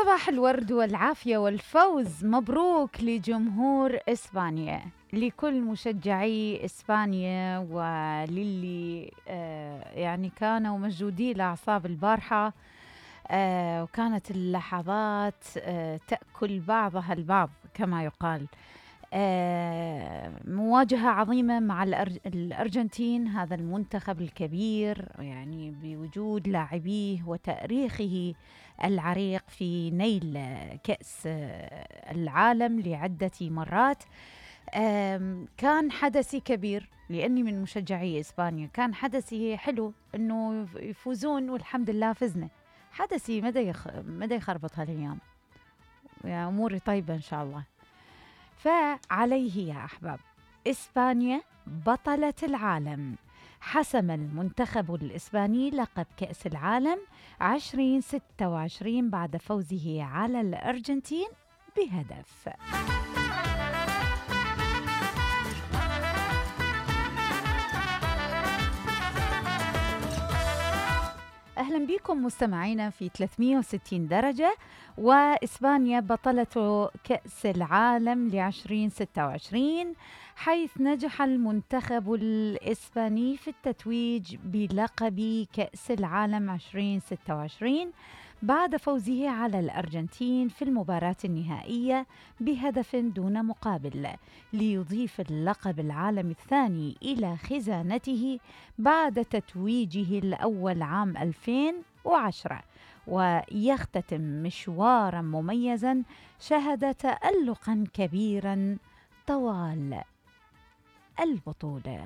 صباح الورد والعافية والفوز، مبروك لجمهور إسبانيا، لكل مشجعي إسبانيا وللي يعني كانوا مشدودي لأعصاب البارحة، وكانت اللحظات تأكل بعضها البعض كما يقال. مواجهة عظيمة مع الأرجنتين، هذا المنتخب الكبير يعني بوجود لاعبيه وتاريخه العريق في نيل كأس العالم لعدة مرات. كان حدثي كبير لأني من مشجعي إسبانيا، كان حدثي حلو أنه يفوزون والحمد لله فزنا. حدثي مدى يخربط هالأيام، يعني أموري طيبة إن شاء الله. فعليه يا أحباب، إسبانيا بطلة العالم، حسم المنتخب الإسباني لقب كأس العالم 2026 بعد فوزه على الأرجنتين بهدف. أهلا بكم مستمعينا في 360 درجة. وإسبانيا بطلة كأس العالم ل2026، حيث نجح المنتخب الإسباني في التتويج بلقب كأس العالم 2026 بعد فوزه على الأرجنتين في المباراة النهائية بهدف دون مقابل، ليضيف اللقب العالمي الثاني إلى خزانته بعد تتويجه الأول عام 2010، ويختتم مشوارا مميزا شهد تألقا كبيرا طوال البطولة.